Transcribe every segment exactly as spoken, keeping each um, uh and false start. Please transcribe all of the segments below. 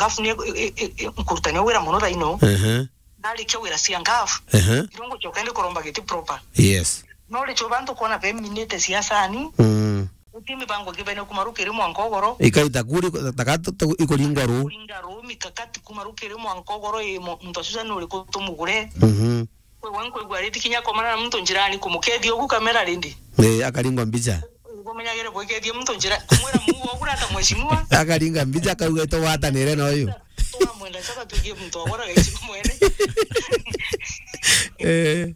ngafu ni, i-, i-, i-, nkurutania wira mono thaino. Ehe. Ndarikia wira cia ngafu, ehe, irongo choka ndi kuromba giti proper. Yes. No richo bantu kuona beminite siasani. Mm. Uti mibango kibene kuma rukiri mwanka ugoro. Ikaita kuri, takatu, tu-, ikuringa ru. Kuringa ru, mikakati kuma rukiri mwanka ugoro, i mo-, muntu asusa ni uriku tumugure. Mhm. Kwi wangu igwa riti kinya komana na muntu njirani kumukethia ugu kamera rindi. Eh, akaringwa mbicha. Umenyagire gwikethia muntu njira, kumwira muu wa kurata mheshimiwa. Akaringa mbicha, akauga, "Tugwatanire na uyu." Twamwenda chaba tugie muntu wa gwara gaichi mwene. Eh.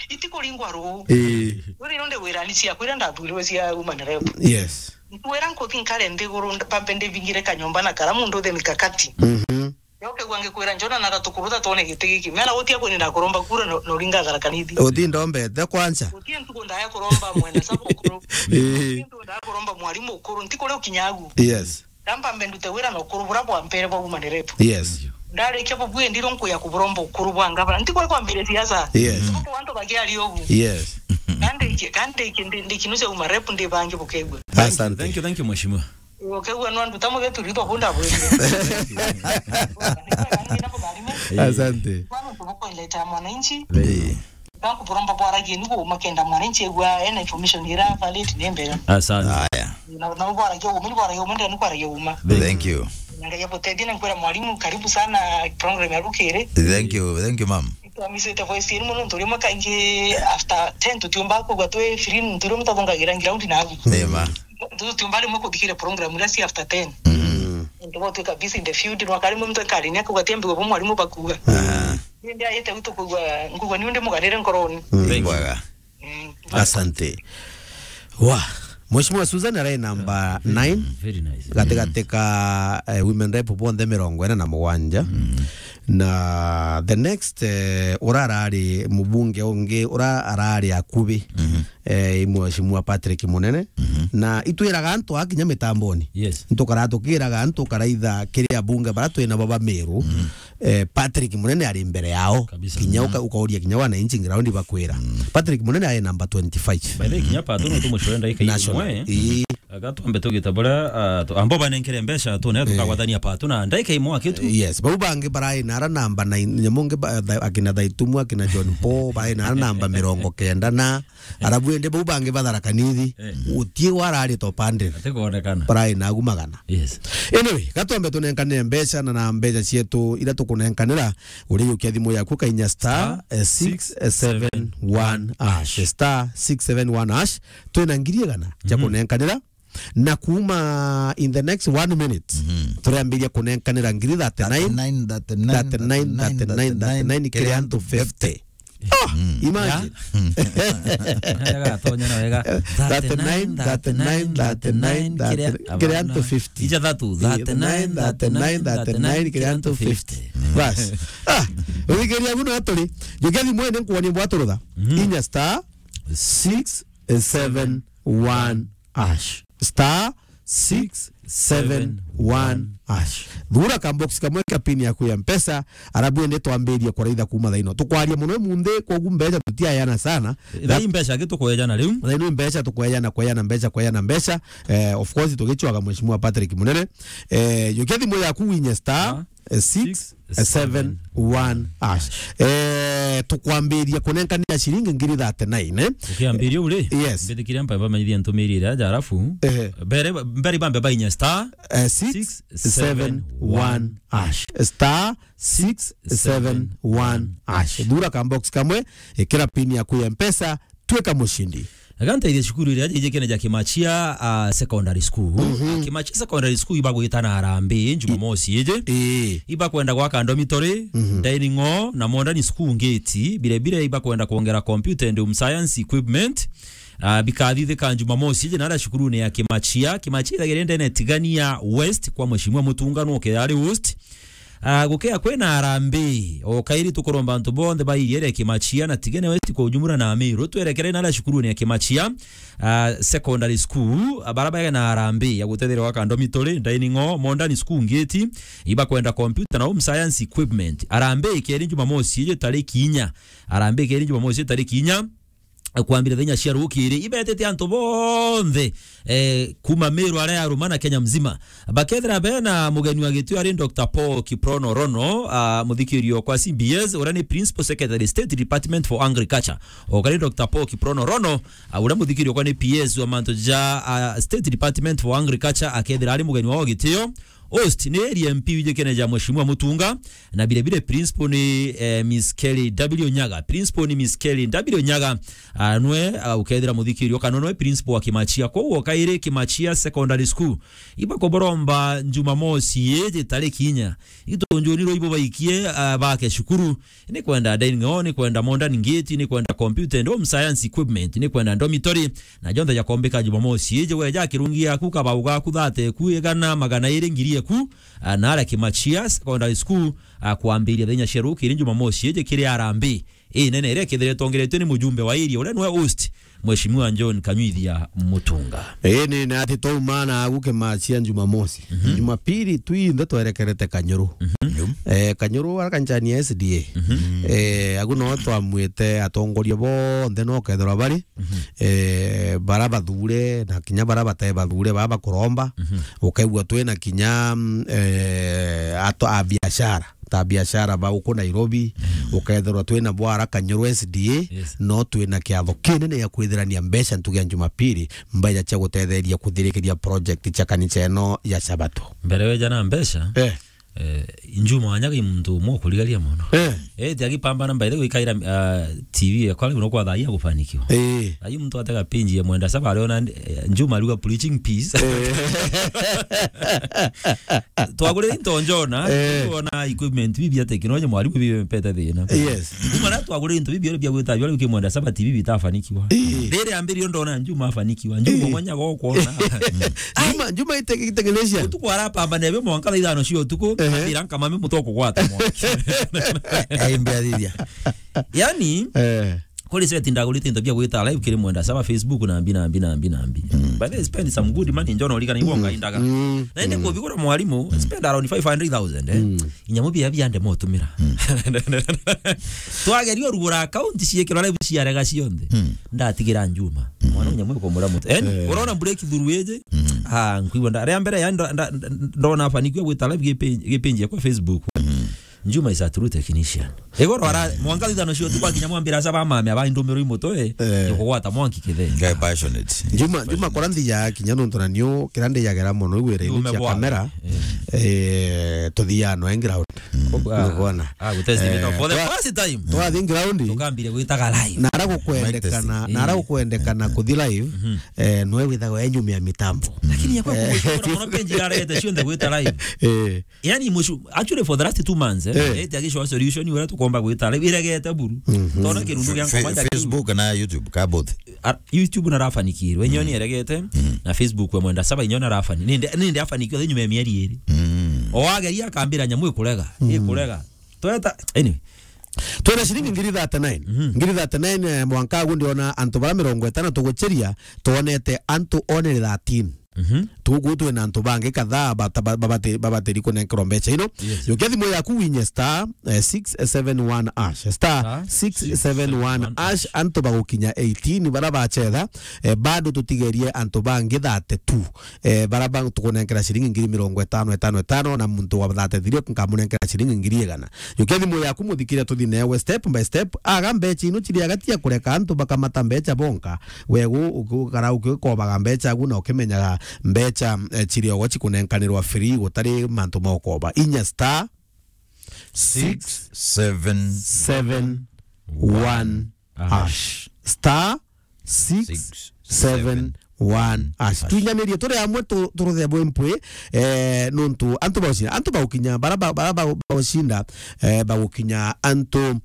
Iti kuringwa ru. Eh. Uri nonde wirani cia kwira ndathurirwe cia woman rep. Yes. Nkwira nkuthi nkare nthiguru, mpambe ndibingire kanyomba na karamu nduthe mikakati. Mhm. Yoke gwa ngikwira njona na gatukuru ta twone giti giki. Mena utia kwini na kuromba kura no, no ringa Tharaka Nithi. Uti ndombete kwanza. Uti ntuku ndaya kuromba mwene sabu ukuru. Eh. Uti ntuku ndaya kuromba mwalimu ukuru. Nti kuria ukinyagu. Yes. Ndamba mbe ndute wira na ukuru bura bwa mpere bwa woman rep. Yes. Ndarikia bubui ndiro nkuya kuburomba ukuru bwa ngavana. Nti kuria kwambire siasa. Yes. Kwa antu bagiari ubu. Yes. Kandi iki, kandi iki ndi, ndi kinusia woman rep ndi bangi bukegwa. Asante. Thank you, thank you, mheshimiwa. Ukegwa no nduta mugetu ritho bunda bwende. Asante. Kwani tuko ileta mwananchi. Eh. Bakuburomba bwaragie ni guma kenda mwananchi egwa ena information ira valid ni mbere. Asante. Aya. Na, na bwaragie uma, ni bwaragie uma, ndani kwaragie uma. Thank you. Ngai abutethie na nkwira mwalimu, karibu sana program ya rukiri. Thank you, thank you, ma'am. Twamisite voice yenu mono, nturimo kaingi after ten tutiumba kugwa twi free, nturimo tathungagira ground na agu. Nema. Tutiumba rimwe kuthikira program ira si after ten. Mm. Ntugo twika busy in the field, no kari muntu kari ni akugwa tiambi gwa mwalimu bakuga. Ah. Nindi ayete gutu kugwa, nkugwa ni undi mugarire nkoroni. Mm. Thank you. Bwega. Mm. Asante. Wa, Mheshimiwa Susan arai namba nine. Very nice. Gatigati ka, eh, women rep bonthe mirongo ina na mugwanja. Mm. Na the next, eh, ura arari mubunge ungi, ura arari akubi, mhm, eh, i Mheshimiwa Patrick Munene. Mhm. Na itwiraga antu akinya mitamboni. Yes. Ntukara tukiraga antu karaitha kiri abunge bara twina bo ba Meru. Mhm. Eh, Patrick Munene ari mbere yao. Kabisa. Kinya, mhm, uka-, ukauria kinya wananchi ground bakwira. Mm. Patrick Munene ari namba twenty-five. By the way, kinya Pato no tumucwenda ika imwe. Ii. Aga twambe tugita buria, ah, tu-, ambo banenkere mbeca tune, eh, tukagwatania Pato na ndaika imwe akitu. Yes, bau bangi barai nara namba nine, nyamu ngi ba-, tha-, akina Thaitumu, akina John Paul, barai nara namba mirongo kenda na, arabu ende bau bangi ba Tharaka Nithi, eh, gutie warari top hundred. Atikwonekana. Barai nagu magana. Yes. Anyway, gatwambe tunenkanire mbeca na, na mbeca cietu ira tukunenkanira, uri yukia thimu yaku kainya star, eh, six seven one hash. Star six seven one hash. Twina ngiri igana cia, mhm, kunenkanira. Na kuma in the next one minute, mhm, turiambiria kunenkanira ngiri thirty-nine, thirty-nine, thirty-nine, thirty-nine, thirty-nine, kiri antu fifty. Ah, mm, imagine. Ya? Wega, tonya na wega. Thirty-nine, thirty-nine, thirty-nine, kiri antu fifty. Ija thatu, thirty-nine, thirty-nine, thirty-nine, kiri antu fifty. Bas. Ah, uthikiriria guno aturi. Jukia thimu ene nkuonie bwaturutha. Mhm. Inya star six seven one hash. Star six seven one hash. Thura kambox kamwe ka pin yaku ya Mpesa, arabu ende twambirie kuraitha kuma thaino. Tukwaria muno munthi, kogu mbeca tutiayana sana. Thaai mbeca aki tukwejana riu. Thaino mbeca tukwejana, kwejana mbeca, kwejana mbeca. Eh, of course, tugichwaga Mheshimiwa Patrick Munene. Eh, jukia thimu yaku winye star, ah, eh, six seven one hash. Eh, tukwambiria kunenkanira ciringi ngiri thirty-nine, eh? Ukiambiria uri? Yes. Mbithikire mpa bamenyithie ntumiri iria aja, arafu, ehe, mbere, mbere bambe bainya star, eh, six seven one hash. Star six seven one hash. Thura kambox kamwe, ikira pin yaku ya Mpesa, twika mushindi. Aga nteithie cukuru iria ijikene ja Kimachia, ah, Secondary School. Mhm. Kimachia Secondary School ibagwita na harambee Jumamosi iji. Ii. Ibakwenda gwaka dormitory, mhm, dining hall na modern school ngeti. Bire bire ibakwenda kwongera computer and home science equipment. Ah, bikathithika Jumamosi iji nara cukurune ya Kimachia. Kimachia ithagire ndene Tigania West kwa Mheshimiwa Mutunga no ke ari host. Ah, gukea kwina harambee, o kairi tukuromba antu bonthe ba iria ria Kimachia na Tigania West kwa ujumla na Meru, twerekere nara cukurune ya Kimachia, ah, Secondary School, ah, bara bae na harambee ya gutetheria gwaka dormitory, dining hall, modern school ngeti, ibakwenda computer na home science equipment. Harambee ikeri Jumamosi iji tariki inya. Harambee ikeri Jumamosi iji tariki inya. kwambira thenya cia rukiri, ibetete antu bonthe, eh, kuma Meru aria ya ruma na Kenya mzima. Bakethira bena mugeni wa gitio ari Doctor Paul Kiprono Rono, ah, muthikirio kwa C B S, uria ni Principal Secretary, State Department for Agriculture. Okari Doctor Paul Kiprono Rono, ah, uria muthikirio kwa ni P S wa mantu ja, ah, State Department for Agriculture, akethira ari mugeni wa gitio. Host ni area M P wijikene ja Mheshimiwa Mutunga, na bile bile principal ni, eh, Miss Kelly W Nyaga. Principal ni Miss Kelly W Nyaga. Ah, nwe, ah, ukethira muthikirio kana nwe principal wa Kimachia. Kwou okairi Kimachia Secondary School. Ibakoboromba Jumamosi iji tariki inya. Itunjuni rwo ibo baikie, ah, bake cukuru. Ni kwenda dining hall, ni kwenda modern gate, ni kwenda computer and home science equipment, ni kwenda dormitory, na jonthe jakombika Jumamosi iji. Weja kirungi yaku, kabau gaku, thate ku, igana, magana iri, ngiri eku, ah, na aria Kimachia Secondary School, ah, kwambiria thenya cia rukiri Jumamosi iji kiri arambi. Ii nene iria ikethire itongeretue ni mujumbe wa area uria nwe host, Mheshimiwa John Kanyuithia Mutunga. Ii ni, na ati twauma na agu Kimachia Jumamosi. Mhm. Jumapili twinthe twerekerete Kanyuru. Mhm. Eh, Kanyuru ara kanchani ya S D A. Mhm. Eh, agu no twamwite atongoria bonthe no kethirwa bari. Mhm. Eh, bara bathure na kinya bara batae bathure, bara bakuromba. Mhm. Ukaigua twina kinya, mm, eh, ato a biashara, ta biashara ba uku Nairobi, mm, ukethirwa twina bwara Kanyuru S D A, yes, no twina kiatho kinene ya kwithirania mbeca ntugi ya Jumapili, mbeca cia gutetheria kuthirikiria project cia kanisa ino ya Sabato. Mbere weja na mbeca, eh, eh, Juma wanyaga i muntu umwe ukurigaria mono. Eh. Eh, ti agipambana mbaithe gwikaira, ah, T V yakwa riu no kwa thaa hii agufanikiwa. Eh. Ayu muntu atega pinji ya mwenda saba ariona, eh, Juma ariuga preaching peace. Eh. Twagurire into njona, eh, tuona equipment bibi ya technology, mwarimu bibi mpete thina. Yes. Kuma na twagurire into bibi bia gwita bia kimwenda saba T V bitafanikiwa. Eh. Riri ambirio ndona Juma afanikiwa. Juma, eh, mwanya go kuona. Juma, Juma ite-, itengenecia. Utuku arapambana ebe mwanka thaa ithano cia utuku, eh, atira nkamame mutoko gwata mwanka. Ai, mbiathiria. Yani, eh. Kuri seti ndagurite into bia gwita live kiri mwenda saba Facebook na mbi, na mbi, na mbi, na mbi. Mm. By the way, spend some good money, njona urigana igwo, mm, ngaindaga. Mm. Na indi, mm, kubigura mwarimu, mm, spend around five hundred thousand, eh. Mm. Inyamu bia biande motumira. Mm. Twageria urugura account ciikirwa live ciarega cionthe. Mm. Ndatigira Juma. Mm. Mwana nyamu ikomura mutu. Eh, eh, urona breakthrough iji? Mm. Ah, nkwigua nda-, ria mbere ya nda-, nda-, nda-, ndona afanikiwa gwita live gipi-, gipinji kwa Facebook. Mm. Juma is a true technician. Igoro ara, mwanka thithano cio tu kwa kinya mwambira saba mame aba indumiro imutwe, eh, yokugwata mwanki kithe. Guy passionate. Juma, Juma kora nthija kinya nontu na niu kira ndijagera mono igwira ini cia kamera. Eh. Eh, tuthia no ground. Mm. Nukona. Ah, gutesti, eh, for the first time. Twathi ground. Tukambire gwitaga live. Na ara gukwendekana, na ara gukwendekana kuthi live, mhm, eh, nwe withago enyumia mitambo. Lakini yakwa, eh, kugwikira mono page irarete cionthe gwita live. Eh. Yani, mushu-, actually, for the last two months, eh, eh, eti agishoa solution, uria tukomba gwita live, iregete buru. Mhm. Tona kirundu gia Fe-, ngoma ja Facebook na YouTube, ka both? Ah, YouTube narafanikiirwe, inyo ni eregete, mhm, na Facebook we mwenda saba, inyo narafani-, ninde, ninde afanikiwa nyuma ya mieri iri. Mm. O ageria akambira nyamu ikurega, mhm, ikurega. Tweta, anyway. Twina ciringi ngiri thirty-nine. Mhm. Ngiri thirty-nine, eh, mwanka agu ndiona antu bara mirongo itano tuguchiria, twonete antu only thirteen. Mhm. Tugu twina antu bangi kadhaa bata-, ba-, babati-, babatiri kunenkerwa mbeca ino. Yes. Yukia thimu yaku winye star, eh, six seven one hash. Star six seven one hash. Antu bagukinya eighteen bara bachetha, eh, bado tutigerie antu bangi thirty-two. Eh, bara ba-, tukunenkera ciringi ngiri mirongo itano, itano, itano, na muntu wa thirty-three nkamunenkera ciringi ngiri igana. Yukia thimu yaku muthikire tuthi newe step by step. Aga mbeca ino ciri agati ya kureka antu bakamata mbeca bonka. Wegu ukikara ukikobaga mbeca agu na ukimenyaga mbeca, eh, ciri ogo cikunenkanirwa free gutari mantu ma ukoba. Inya star six seven one hash. Star six seven one hash. Twinyanirie turi amwe tu-, turuthe bwe mpwi, eh, nuntu antu baucinda, antu baukinya, bara ba-, bara ba-, baucinda, eh, bagukinya antu,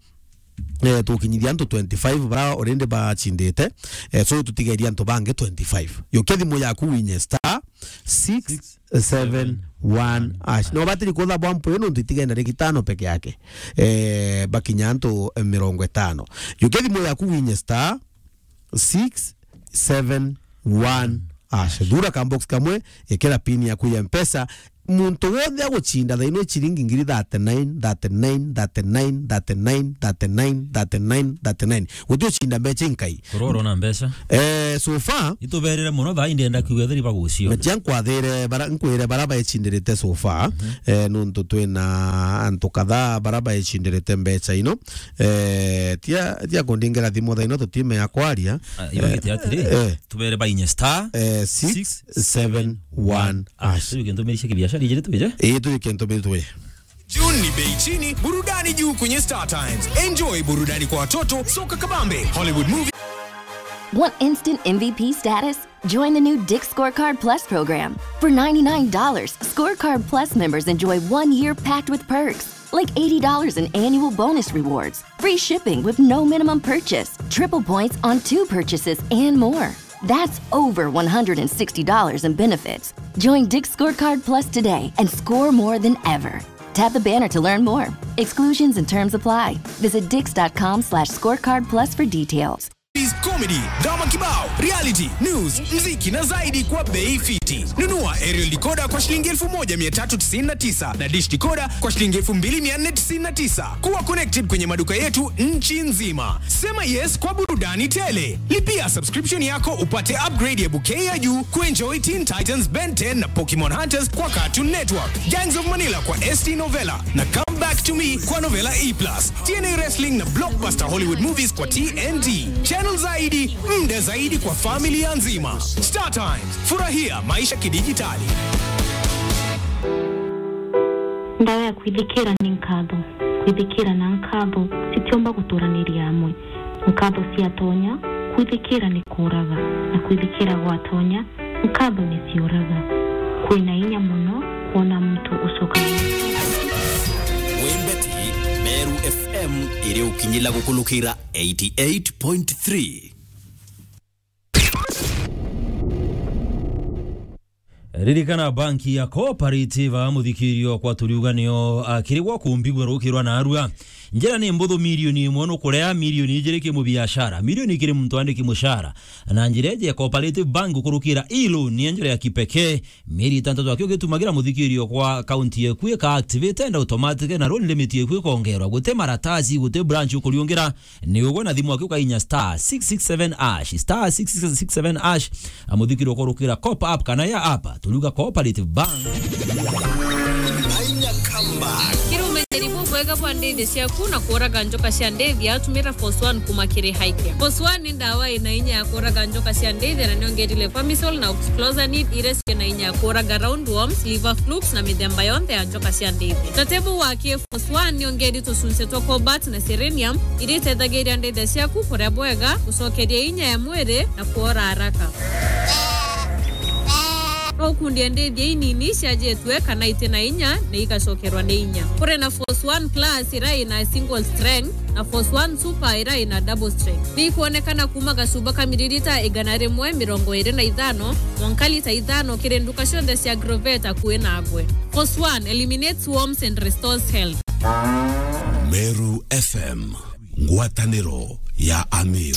eh, tukinyithia antu twenty-five bara already bacindite. Eh, so tutigeria antu bangi twenty-five. Yukia thimu yaku winye star six seven one hash. No batiri kutha bwa mpwi nuntu itigenda rigi tano peke yake. Eh, bakinya antu mirongo itano. Yukia thimu yaku winye star six seven one hash. Thura ka box kamwe, ikira pin yaku ya Mpesa, muntu wonthe agucinda thaino ciringi ngiri thirty-nine, thirty-nine, thirty-nine, thirty-nine, thirty-nine, thirty-nine, thirty-nine. Guti ucinda mbeca inkai. Kuroro na mbeca. Eh, so far. Ituberire muno thaa indi enda kiuga theri bagucio. Mecha nkwathire bara, nkwire bara baecindirite so far. Mhm. Eh, nuntu twina antu kadhaa bara baecindirite mbeca ino. Eh, tia, tia kundingera thimu thaino tutime ya kwaria. Ah, ibagite atiri, eh, tubere bainya star eh, six seven one hash. Riu kintu mirisha kibiashara ijiri twije? Ii, turi kintu miritwe. June ni bei chini, burudani juu kwenye Star Times. Enjoy burudani kwa watoto, soka kabambe, Hollywood movie. Want instant M V P status? Join the new Dick's Scorecard Plus program. For ninety-nine dollars, Scorecard Plus members enjoy one year packed with perks, like eighty dollars in annual bonus rewards, free shipping with no minimum purchase, triple points on two purchases, and more. That's over one hundred sixty dollars in benefits. Join Dick's Scorecard Plus today and score more than ever. Tap the banner to learn more. Exclusions and terms apply. Visit dicks dot com slash scorecard plus for details. Is comedy, drama kibao, reality, news, mziki na zaidi kwa bei fiti. Nunua aerial decoder kwa shilingi elfu moja mia tatu tisini na tisa na dish decoder kwa shilingi elfu mbili mia nne tisini na tisa. Kuwa connected kwenye maduka yetu nchi nzima. Sema yes kwa burudani tele. Lipia subscription yako upate upgrade ya bouquet ya juu kuenjoy Teen Titans, Ben ten na Pokemon Hunters kwa Cartoon Network, Gangs of Manila kwa S T Novella na Come Back to Me kwa Novella E plus, T N A Wrestling na blockbuster Hollywood movies kwa T N T. Channel zaidi, muda zaidi kwa familia nzima. Star Times, furahia maisha kidijitali. Ndawa ya kwithikira ni nkatho. Kwithikira na nkatho citiumba guturaniria amwe. Nkatho ciatonya, kwithikira ni kuuraga, na kwithikira gwatonya, nkatho ni ciuraga. Kwina inya mono kwona muntu ucokanira. Wembeti, Meru F M iri ukinyila gukulukira eighty eight point three. Ririkana banki ya Cooperative, muthikirio kwa turiuga nio, ah, kiri gwa kumbigua rukirwa na arua. Njira ni mbuthu, milioni imwe nukurea, milioni ijiri ki mubiashara, milioni kiri muntu andiki mushara. Na njira iji ya Cooperative Bank gukurukira e-loan ni njira ya kipekee. Mieri itantatu aki ugitumagira muthikirio kwa akaunti yeku ika activate and automatic na loan limit yeku ikongerwa. Guti maratasi, guti branch ukuriungira. Ni ugwe na thimu aki ukainya star six six seven hash, star six six seven hash. Amuthikiri ukorukira Coop app kana ya app, turiuga Cooperative Bank. Ainya Kamba. Kiri umenyeri bubwega bwa ndithi ciaku na kuuraga njoka cia ndithi, atumira Force One kuma kiri Highcare. Force One ni ndawa ina inya ya kuuraga njoka cia ndithi na niongerile Fermicell na oxyclosanid, iria ciina inya ya kuuraga roundworms, liver flukes na mithemba yonthe ya njoka cia ndithi. Tatebu waki Force One ni ongeri tucunci twa cobalt na selenium, iria itethagiria ndithia ciaku kuria bwega, gucokeria inya ya mwiri na kuora haraka. No ukundie ndithia inini ciajitwe kana iti na inya na igacokerwa ni inya. Kuri na Force One Plus iria ina single strength na Force One Super iria ina double strength. Ni ikwonekana kuma gacuba ka miririta igana rimwe mirongo iri na ithano mwanka lita ithano kiri nduka cionthe cia Agrovet akui nagwe. Force One eliminates worms and restores health. Meru F M, ngwataniro ya Amir.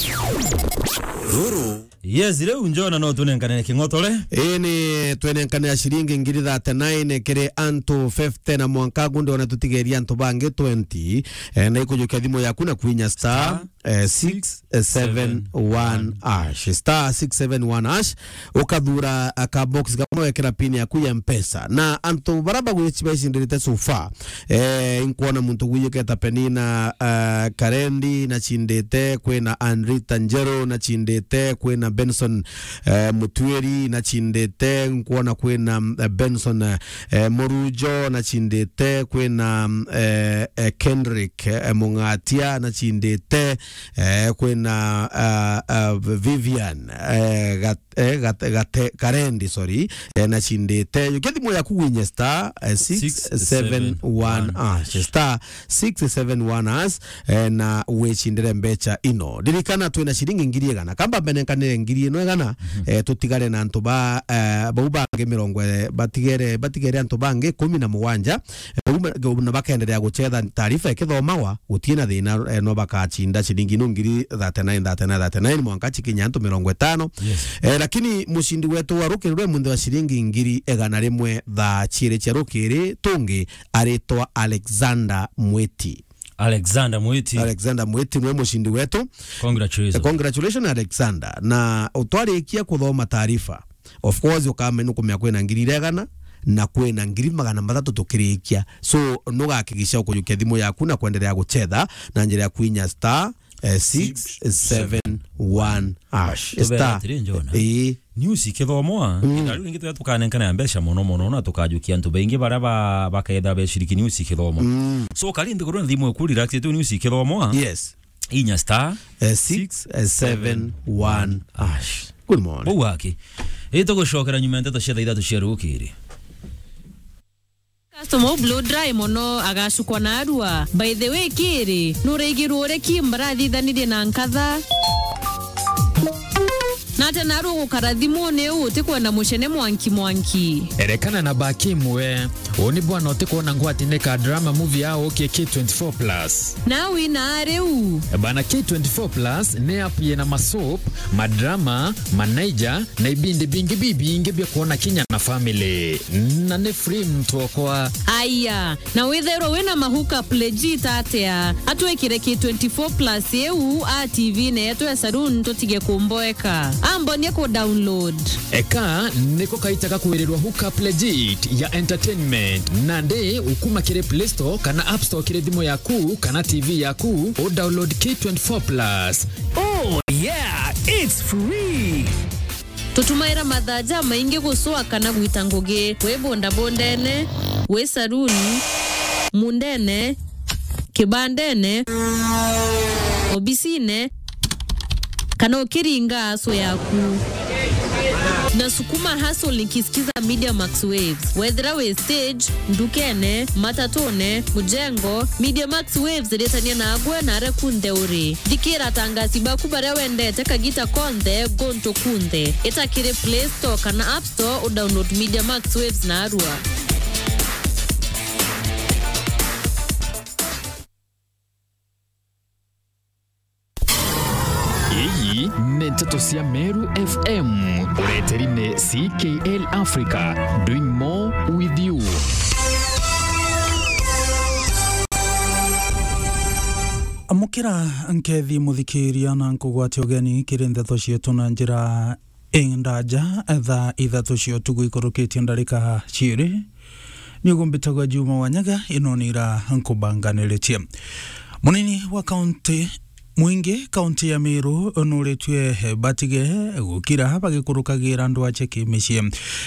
Ruru. Yes, riu njona no tunenkane king'otore. Ii ni twenenkanira ciringi ngiri thirty-nine kiri antu fifty na mwanka gunde ona tutigeria antu bangi twenty. Eh, na ikujukia thimu yaku na kwinya star, eh, six seven one hash. Star six seven one hash. Ukathura, ah, ka box kamwe wekera pin yaku ya Mpesa. Na antu bara bagwici bacindirite so far. Eh, inkwona muntu gwiyuketa Penina, ah, Karendi na cindite, kwina Anrita Njeru na cindite, kwina Benson, eh, Mutwiri na cindite, nkwona kwina, eh, Benson, eh, Murujo na cindite, kwina, eh, eh, Kendrick, eh, Mungatia na cindite, eh, kwina, ah, ah, Vivian, eh, Gat-, eh, Gat-, Gate-, Karendi, sorry, eh, na cindite. Yukia thimu yaku winye star, eh, six seven one hash, star six seven one hash, eh, na wicindire mbecha ino. Ririkana twina ciringi ngiri igana. Kamba mbenenkanire ngiri ino igana, eh, tutigare na antu ba, eh, bau bangi mirongo, eh, batigere, batigere antu bangi kumi na mugwanja. Eh, bau ma-, na bakenderea gucetha taarifa ikithomagwa, gutie na thina, eh, no bakacinda ciringi ino ngiri thirty-nine, thirty-nine, thirty-nine, mwanka cikinya antu mirongo itano. Yes. Eh, lakini mucindi wetu wa rukiri rwe munthi wa ciringi ngiri igana rimwe thaa ciiri cia rukiri tungi aritwa Alexander Mwiti. Alexander Mwiti. Alexander Mwiti niwe mucindi wetu. Congratulations. Eh, congratulations, Alexander. Na utwarikia kuthoma taarifa, of course, ukamenya, nukumenya kwina ngiri igana na kwina ngiri magana mathatu tukirikia. So, nugakigisha ukujukia thimu yaku na kwenderea gucetha na njira ya kuinya star, eh, six seven one hash. Tubera atiri, Njona. Ii. News ikithomwa, mm, na riu ringi turia tukanenkana mbeca mono mono, na tukajukia antu baingi baria ba-, baketha beciriki news ikithomwa. Mm. So, kari nthiguru na thimu iku relax tu news ikithomwa. Yes. Inya star, eh, six seven one hash. Good morning. Bau aki. Itugucokera nyuma ya nteto cia thaa ithatu cia rukiri. Customer u blow dry mono agacukwa na arua. By the way, kiri, nuraigirwe uria Kim barathithanirie na nkatha? Na ati narua gukara thimuni uu utikwenda mucene mwanki mwanki? Erekana na ba Kim we. Uu ni bwana utikwona ngwati ni ka drama movie ya ukie K twenty-four plus. Na wina riu? Bana, K twenty-four plus ni app yina masoap, madrama, manaija, na ibindi bingi bibingi bia kwona kinya na family. Na ni free mtu okwa. Aya, na withairwa wina ma hookup legit atia? Atwikire K twenty-four plus iu a T V-ini yetu ya saloon tutige kumboeka. Ambonie ku download. Eka niko kaita gakwirirwa hookup legit ya entertainment. Nandi ukuma kiri Play Store kana App Store kiri thimu yaku kana T V yaku, u download K twenty-four plus. Oh yeah, it's free. Tutumaira mathaa jamaingi gucwa kana gwita ngugi, wi bondabondene, wi saruni, mundene, kibandene, obisine, kana ukiringa aso yaku. Na sukuma hustle nikisikiza Media Max Waves. Wethira wi stage, ndukene, matatune, mujengo, Media Max Waves iritania nagwe na aria kunthe uri. Thikira atangasi baku baria wendete kagita konthe, guntu kunthe. Ita kiri Play Store kana App Store, u download Media Max Waves na arua. Ii ni nteto cia Meru F M, ureteri ni C K L Africa, doing more with you. Amukira nkethi muthikiria na nkugwate ugeni kiri nteto cietu na njira indaja, thaa ithatu cia utuku ikurukitie ndarika ciiri. Niuguo mbitagwa Juma Wanyaga, ino ni ira nkubanganiritie. Munini wa kaunti, mwingi kaunti ya Meru nuritue batige gukira bagikurukagira ndwache kimicii.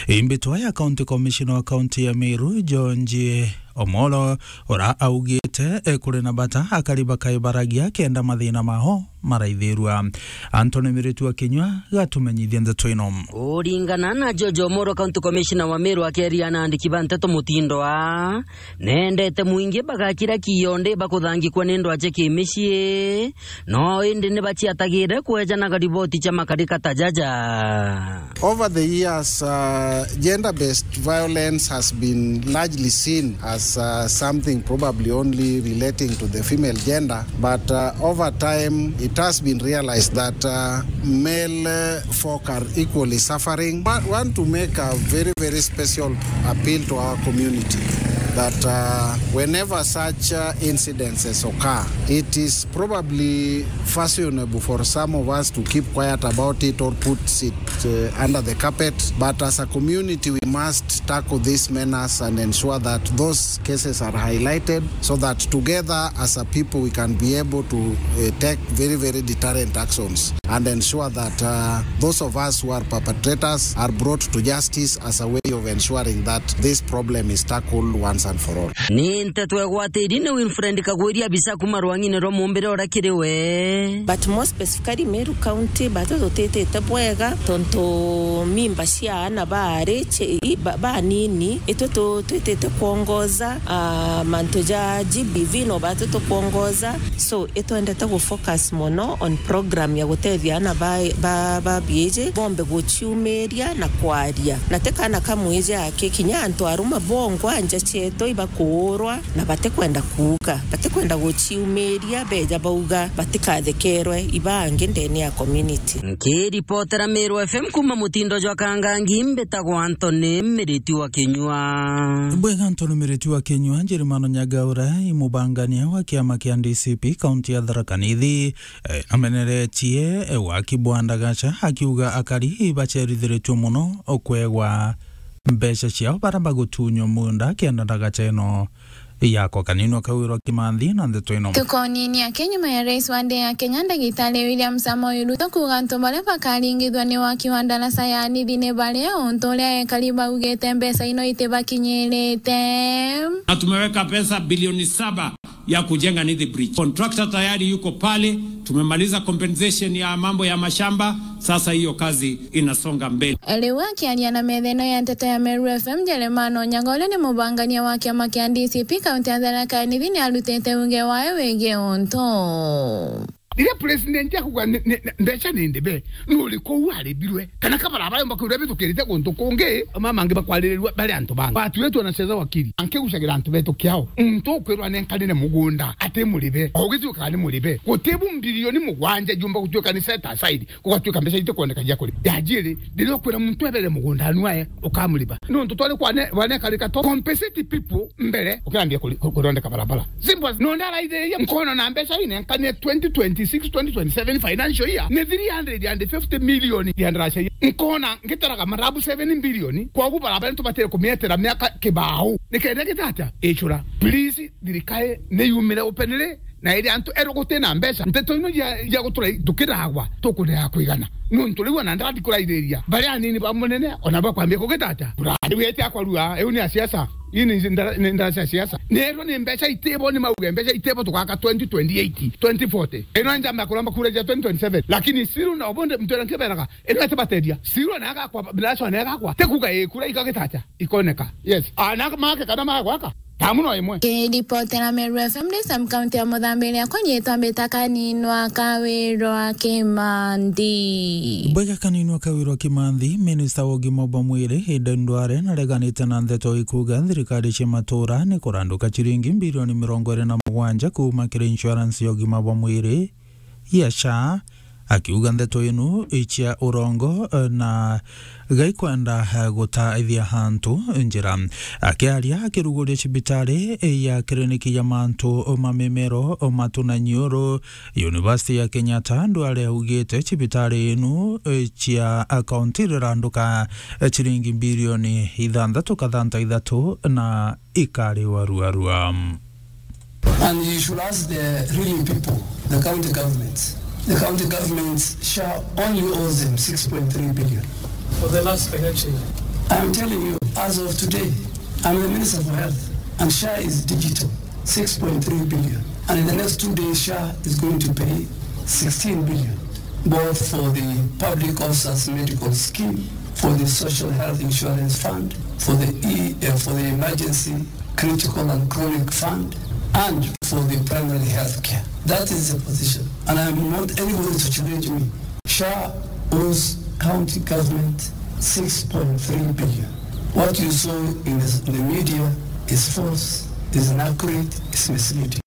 Imbitwa ya County Commissioner wa kaunti ya Meru, George Omolo, ura augite, eh, kuri na bata akari bakaibaragia kenda mathina mao maraithirua. Anthony Miritu wa Kinyua gatumenyithia ndeto ino. Kuringana na George Omoro, County Commissioner wa Meru, akeria na andiki ba nteto mutindo aa, nendete mwingi bagakira kiondi bakuthangikwa ni ndwache kimicii, no indi ni baciatagire kwejanaga riboti cia makarika ta jaja. Over the years, uh, gender-based violence has been largely seen as, uh, something probably only relating to the female gender, but, uh, over time it has been realized that, uh, male, uh, folk are equally suffering. Wa-, want to make a very, very special appeal to our community that, uh, whenever such, uh, incidences occur, it is probably fashionable for some of us to keep quiet about it or put it, uh, under the carpet. But as a community, we must tackle this menace and ensure that those cases are highlighted so that together as a people we can be able to, uh, take very, very deterrent actions and ensure that, uh, those of us who are perpetrators are brought to justice as a way of ensuring that this problem is tackled once and for Ni nteto egwatiri ni Winfred Kagwiri, abisa kuma rwang'ine rwa Mumbire uria kiri we. But more specifically, Meru County, batu tutitite bwega, tontu mimba cia aana baari ci-, i-, ba-, banini, itwe tu-, twitite kwongoza, ah, mantu ja G B V no batu tukwongoza. So, itwendete gu focus mono on program ya gutethia aana ba, ba, ba biiji bombe guciumiria na kwaria. Na ti kaana ka mwiji aki, kinya antu aruma bongwa nja cietu ibakuurwa na batikwenda kuuga, batikwenda guciumiria, beja bauga batikathekerwe ibangi ndene ya community. Nkiripotera Meru F M kuma mutindo jwa Kangangi, mbitagwa Anthony Miriti wa Kinyua. Bwega Anthony Miriti wa Kinyua, Njerimano Nyagaura, i mubangania wa kiama kia D C P kaunti ya Tharaka Nithi, eh, ameneretie, eh, waki bwa ndagaca, akiuga akari bacerithiritue mono kwegwa mbeca ciao bara bagutunywa munda kenda ndagaca ino yako. Kaninwa Kawirwa Kimanthi na ndeto ino. Tukonini ake nyuma ya rais wa nthi ya Kenya, Ndagitari William Samoei Ruto, kuuga antu baria bakaringithua ni waki wa ndaraca ya Nithi ni baria, untu uria ekari baugite mbeca ino itibakinyirite. Na tumeweka pesa bilioni saba ya kujenga Nithi Bridge. Contractor tayari yuko pale. Tumemaliza compensation ya mambo ya mashamba. Sasa hiyo kazi inasonga mbele. Riu akiaria na metha ino ya nteto ya Meru F M, Jeremana Onyango, uria ni mubangania wa kiama kia D C P kaunti ya Tharaka Nithi, ni arutite uge wae wigii untu. Riria president akuga ni, ni, ni, mbeca ni ndibe, nuri kuu aribirwe? Kana kabara bayo mbakwirwa bitukirite guntu kungi, mama angi bakwaririrua bari antu bangi. Batuitwe na cetha wakiri, ankigucagira antu betu kiao. Muntu ukwirwa nenkanire mugunda, ati muribe. O ugituikaga ni muribe. Gutibu mbilioni mugwanja jumba gutuika ni set aside, gugatuika mbeca itikwoneka cia kuriba. Ya jiri, riria ukwira muntu ebere mugunda anu ae, ukamuriba. Nontu twari kwane, bwanekarika to compensate people mbere, ukirambia kuri-, ku-, kurondeka barabara. Simple as, nontu araithiria nkoona na mbeca inenkanie twenty twenty-six, twenty twenty-seven financial year, ni three hundred and fifty million ya ndaraca. Nkoona ngitaraga marabu seven billion, kwagu barabara nitubatire kumietera miaka kibao. Nikenda gitatia? Icura. Please, thirikari ni yumire openly, na iri antu eru guti na mbeca. Nteto ino cia, cia gutura tukiragwa, tukurega kwigana. Nontu riu ona ndandi kuraithiria, baria anini ba munene, ona bakwambia kugitatia? Kura. Riu eti akwarua, iu ni a siasa. Ii ni ndara-, ni ndara cia siasa. Nerwa ni mbeca itibo, ni mauge mbeca itibo tugaka twenty twenty-eight, twenty forty. Ino njamba kuromba kura cia twenty twenty-seven. Lakini siru na obonde mtu era nkiberaga, ino ete bateria. Siru na agakwa, ndaraca na agakwa. Tekuga ikura ikagitatia? Ikoneka. Yes. Ana make kana magwaka. Tamu no imwe. Kiripotera Meru F M ndi sub county ya Muthambi, riakwa riitwa mbita Kaninwa Kawirwa Kimanthi. Bwega Kaninwa Kawirwa Kimanthi, minista wa ugima bwa mwiri, Aden Duale, nareganite na ndeto ikuga thirikari cia matura ni kuranduka ciringi bilioni mirongo iri na mugwanja kuuma kiri insurance ya ugima bwa mwiri ya SHA, akiuga ndeto ino icia urongo, eh, na gaikwenda, eh, gutaithia antu njira. Akiaria akiruguria cibitari, eh, ya kiriniki ya mantu ma mimero, matu na nyiuru, University ya Kenyatta, Duale augite cibitari ino, eh, cia kaunti iriranduka, eh, ciringi bilioni ithanthatu kathanta ithatu na ikari waruarua. And you should ask the real people, the county governments. The county governments, SHA only owes them six point three billion. For the last financial year. I'm telling you, as of today, I'm the Minister for Health, and SHA is digital, six point three billion. And in the next two days, SHA is going to pay sixteen billion, both for the public officers medical scheme, for the social health insurance fund, for the e-, uh, for the emergency critical and chronic fund, and for the primary health care. That is the position. And I'm not anybody to challenge me. SHA owes county government six point three billion. What you saw in the, the media is false, is inaccurate, is misleading.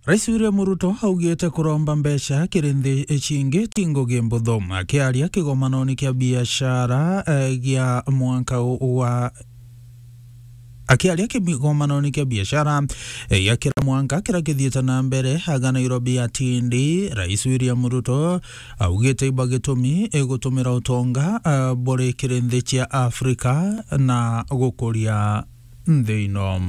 Rais William Ruto augite kuromba mbeca kiri nthi cingi ti ngugi mbuthu. Akiaria kigomanoni kia biashara, eh, gia mwanka wa, akiaria kigomanoni kia biashara, eh, gia kira mwanka kira kithiite na mbere aga Nairobi atindi, Rais William Ruto augite iba gitumi, eh, gutumira utonga, eh, buri kiri nthi cia Afrika na gukuria nthi ino.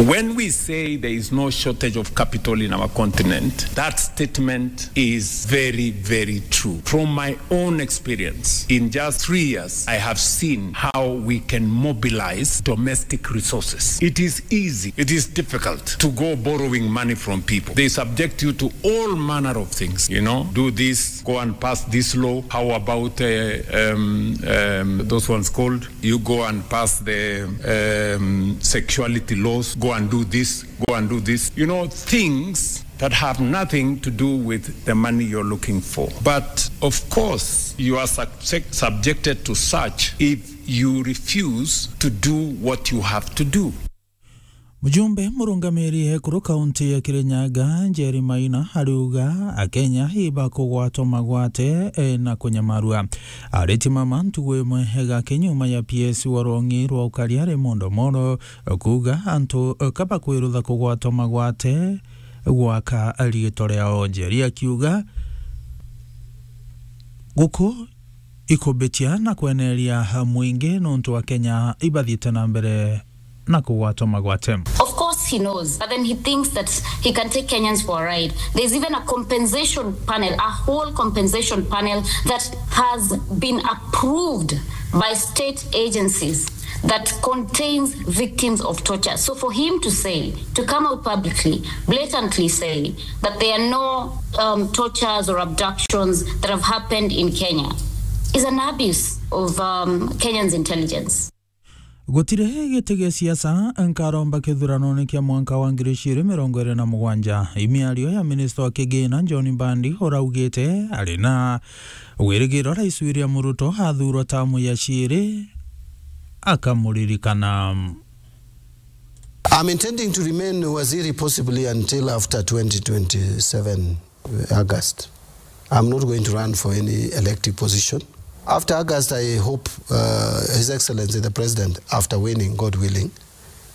When we say there is no shortage of capital in our continent, that statement is very, very true. From my own experience, in just three years, I have seen how we can mobilize domestic resources. It is easy, it is difficult to go borrowing money from people. They subject you to all manner of things, you know, do this, go and pass this law. How about uh, um, um, those ones called? You go and pass the um, sexuality laws, go and do this, go and do this. You know, things that have nothing to do with the money you're looking for. But of course, you are subject, subjected to such if you refuse to do what you have to do. Mujumbe murungamiri ekuru kaunti ya Kirinyaga, Njeri Maina, ariuga Akenya ibakugwatwa magwate, eh, na kunyamarua. Aritimama ntugu imwe egake nyuma ya P S wa rwong'i rwa ukaria Raymond Omolo kuuga antu kabakwirutha kugwatwa magwate gwaka riitwa riao. Njeri akiuga guku ikumbitia na kweneria mwingi nontu Akenya ibathiite na mbere na kugwatwa magwate. Of course he knows, but then he thinks that he can take Kenyans for a ride. There's even a compensation panel, a whole compensation panel that has been approved by state agencies that contains victims of torture. So for him to say, to come out publicly, blatantly say that there are no um, tortures or abductions that have happened in Kenya is an abuse of um, Kenyans' intelligence. Gutiri giti gia siasa nkaromba kithuranone kia mwanka wa ngiri ciiri mirongo iri na mugwanja. Imiario ya minista wa kigina John Mbandi uraugite ari na wirigiro Rais William Ruto athurwa tamu ya ciiri akamuririkana. I'm intending to remain waziri possibly until after twenty twenty-seven August. I'm not going to run for any elective position. After August, I hope uh, His Excellency the President, after winning, God willing,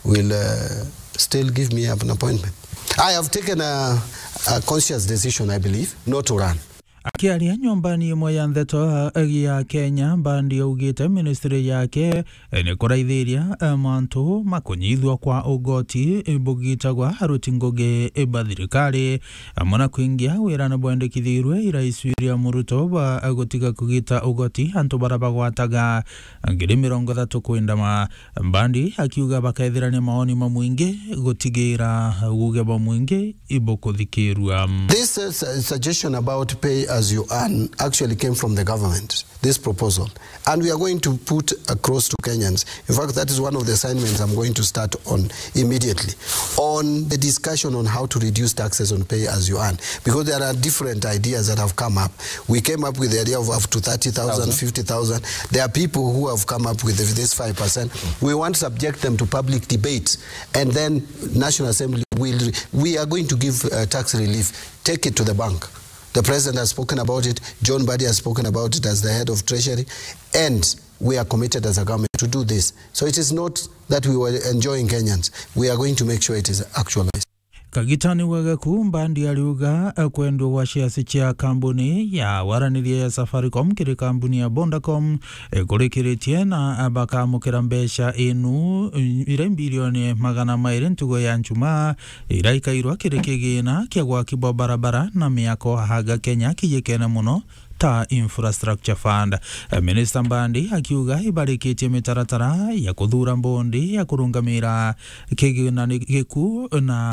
will uh, still give me an appointment. I have taken a, a conscious decision, I believe, not to run. Akiaria nyumbani imwe ya ndeto ya Kenya, Mbandi augite ministry yake ni kuraithiria mantu ma kunyithua kwa ugoti bugitagwa aruti ngugi ba thirikari, amwe na kuingia wirane bwendekithirwe i Rais William Ruto bwa gutiga kugita ugoti antu bara bagwataga ngiri mirongo ithatu kwindama. Mbandi akiuga bakethirania maoni mamwingi gutigira guge bwa mwingi ibukuthikirua. This uh, su- suggestion about pay as you earn actually came from the government, this proposal. And we are going to put across to Kenyans. In fact, that is one of the assignments I'm going to start on immediately, on the discussion on how to reduce taxes on pay as you earn, because there are different ideas that have come up. We came up with the idea of up to thirty thousand, fifty thousand. There are people who have come up with this five percent. We want to subject them to public debate, and then National Assembly will, we are going to give uh, tax relief. Take it to the bank. The president has spoken about it. John Mbadi has spoken about it as the head of Treasury, and we are committed as a government to do this. So it is not that we were enjoying Kenyans. We are going to make sure it is actualized. Kagitani wa gaku, Mbandi ariuga, eh, kwendwa gwa shares cia kambuni ya waraniria ya Safaricom kiri kambuni ya Vodacom, eh, kurikiritie na, eh, bakamukira mbeca inu, eh, ira bilioni magana mairi ntugo ya njumaa, ira ikairwa kiri kigina kia gwaki bwa barabara na miako haga Kenya kijikene muno ta Infrastructure Fund. Eh, Minister Mbandi akiuga ibarikitie mitaratara ya kuthura mbondi ya kurungamira kigina ni giku na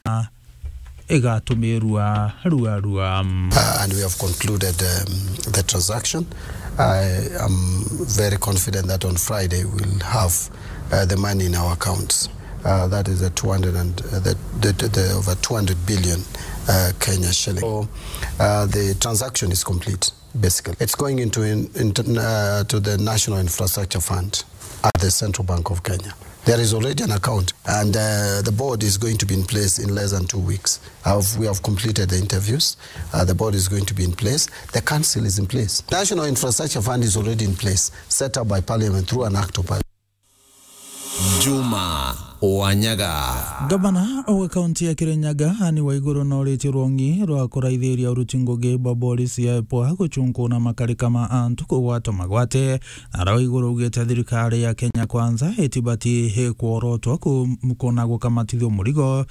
igatumirwa rua rua. Uh, and we have concluded um, the transaction. I am very confident that on Friday we'll have uh, the money in our accounts. Uh, that is the two hundred and uh, the, the, the, the over two hundred billion uh, Kenya shilling. So uh, the transaction is complete. Basically, it's going into in, into uh, to the National Infrastructure Fund at the Central Bank of Kenya. There is already an account, and uh, the board is going to be in place in less than two weeks. Have, we have completed the interviews. Uh, the board is going to be in place. The council is in place. National Infrastructure Fund is already in place, set up by Parliament through an act of Parliament. Juma Wanyaga. Gavana wa kaunti ya Kirinyaga, Anne Waiguru, nooritie rwongi rwa kuraithiria uruti ngugi bwa borisi ya IPOA gucunkuna makarika ma antu kugwatwa magwate. Ara Waiguru augite thirikari ya Kenya Kwanza itibati kworotwa ku-, kuna gukamatithua murigo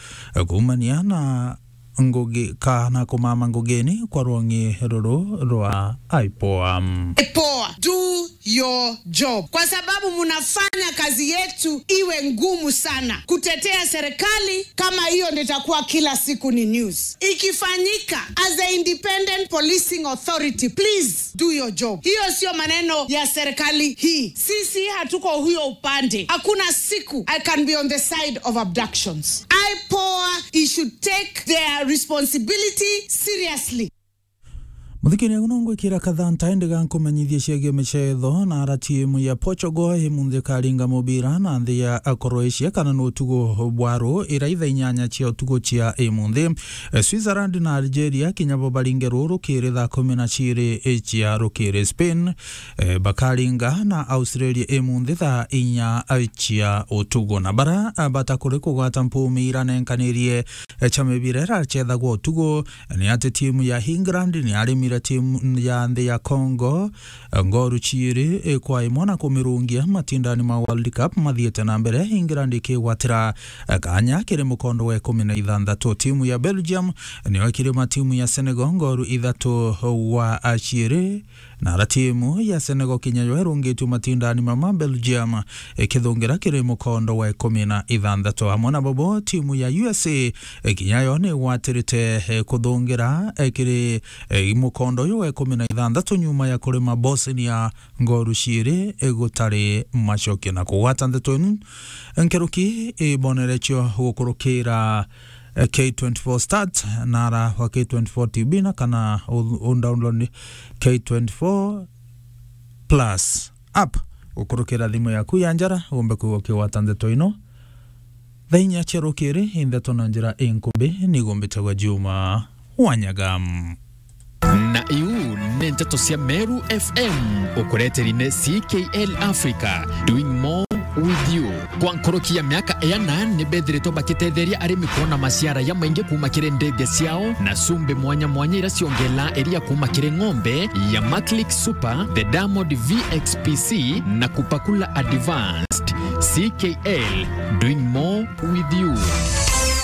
kuumania na ngugi kana kumama ngugini kwa rwongi ruru rwa IPOA. IPOA, do your job, kwa sababu mnafanya kazi yetu iwe ngumu sana kutetea serikali kama hiyo ndio itakuwa kila siku ni news. Ikifanyika as a independent policing authority, please do your job. Hiyo sio maneno ya serikali hii. Sisi hatuko huyo upande. Hakuna siku I can be on the side of abductions. IPOA, he should take their responsibility seriously. Muthikiria, uno ngwikira kathanta indi gankumenyithie ciagie micetho na ara timu ya Portugal imunthi ikaringa mubira na nthi ya Croatia kana ni utugo bwa ru ira ithaa inyanya cia utugo cia imunthi. Eh, Switzerland na Algeria kinya bo baringe ru rukiri thaa kumi na ciiri cia rukiri. Spain, eh, bakaringa na Australia imunthi thaa inya cia utugo. Na bara, eh, batakuri kugwata mpumi iranenkanirie, eh, cia mibira ira ciethagwa utugo, ni ati timu ya England ni yarimire timu ya nthi ya Congo, eh, ngoru ciiri, eh, kwa imwe na kumirungia matindani ma World Cup mathiite na mbere, England ikigwatira, eh, kanya kiri mukondo wa ikumi na ithanthatu. Timu ya Belgium niyo ikirima timu ya Senegal ngoru ithatu gwa ciiri. Na ara timu ya Senegal kinya yo irungitue matindani mama, Belgium ikithungira kiri mukondo wa ikumi na ithanthatu. Amwe na bobo, timu ya U S A, eh, kinya yo ni igwatirite, eh, kuthungira, eh, kiri, eh, mukondo uyu wa ikumi na ithanthatu nyuma ya kurima Bosnia ngoru ciiri, eh, gutari macokio. Na kugwata ndeto inu, nkeruki ibonerecio gukurukira, eh, K twenty-four Start na ara wa K twenty-four T V na kana u-, u-, download K twenty-four Plus app gukurukira thimu yaku ya njara, umbe kwigua ukigwata ndeto ino. Thaa inya cia rukiri, i ndeto na njira inkumbi, ni gumbitagwa Juma Wanyaga. Na iu ni nteto cia Meru F M, ukureteri ni C K L Africa, doing more with you. Kwa nkoroki ya miaka iana, ni bethiritwe bakitetheria arimi kwona maciara ya maingi kuuma kiri ndege ciao na cumbi mwanya mwanya ira ciongela iria kuuma kiri ng'ombe ya Maclick Super, the Diamond V X P C na Kupakula Advanced. C K L, doing more with you.